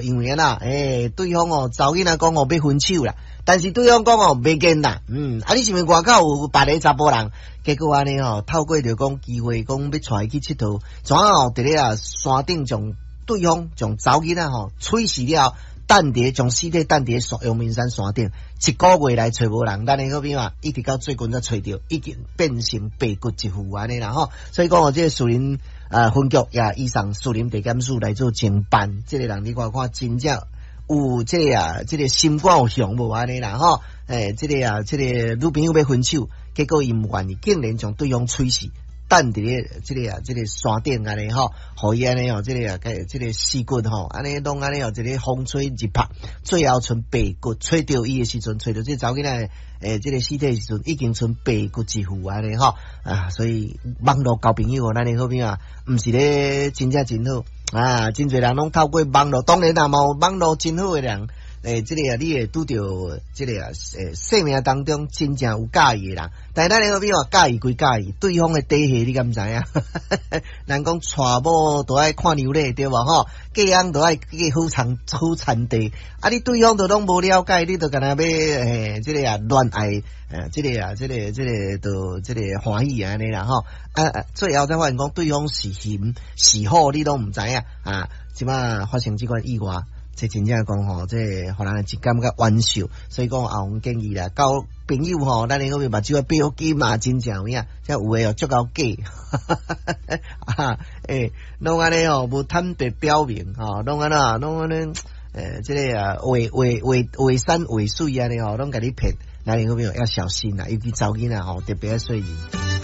因為按怎，欸，對方哦，查某囡仔講哦欲分手啦，但是對方講哦袂見啦，啊你是毋是外口有別个查埔人？結果按呢吼，透過著講機會講欲帶伊去𨑨迌，怎哦佇咧啊山頂將對方將查某囡仔吼處死了，擲佇將屍體擲佇陽明山山頂，一個月內揣無人，咱的好朋友一直到最近才揣著，已經變成白骨一副按呢啦吼，所以講哦，這個樹林啊分局也移送士林地檢署來做偵辦，這個人你看看真正有這個啊，這個心肝有雄無按呢啦吼，欸，這個啊，這個女朋友欲分手，結果伊毋願意，竟然將對方處死，擲佇咧這個啊，這個山頂按呢吼，予伊按呢吼，這個啊，這個屍骨吼，按呢攏按呢吼，一個風吹日曝，最後賰白骨，揣著伊的時陣，揣著這查某囡仔欸，這個屍體的時陣，已經賰白骨一副按呢吼啊，所以網路交朋友，咱的好朋友毋是咧真正真好啊，真濟人攏透過網路，當然啦，嘛有網路真好的人。欸，這個啊，你會拄著這個啊，欸，生命當中真正有佮意的人，但是咱的好朋友佮意歸佮意，對方的底細你敢知影？人講娶某都愛看娘咧，對無吼？嫁翁都愛嫁好田好田地，啊，你對方都攏無了解，你就干焦欲欸，這個啊戀愛，這個啊，這個這個就這個歡喜按呢啦吼。啊，最後才發現講對方是熊是虎，你攏毋知影啊。這擺發生這款意外。這真正講吼，這予人一感覺冤受，所以講阿紅建議啦，交朋友吼，咱的嗰邊目睭閉好緊嘛，真正有影，這有的哦足夠假，啊，欸，攏按呢吼，無坦白表明吼，攏按怎，攏按呢，欸，這個啊，話話話話山話水按呢吼，攏共你騙，咱的好朋友要小心啦，尤其查某囡仔吼，特別愛細膩。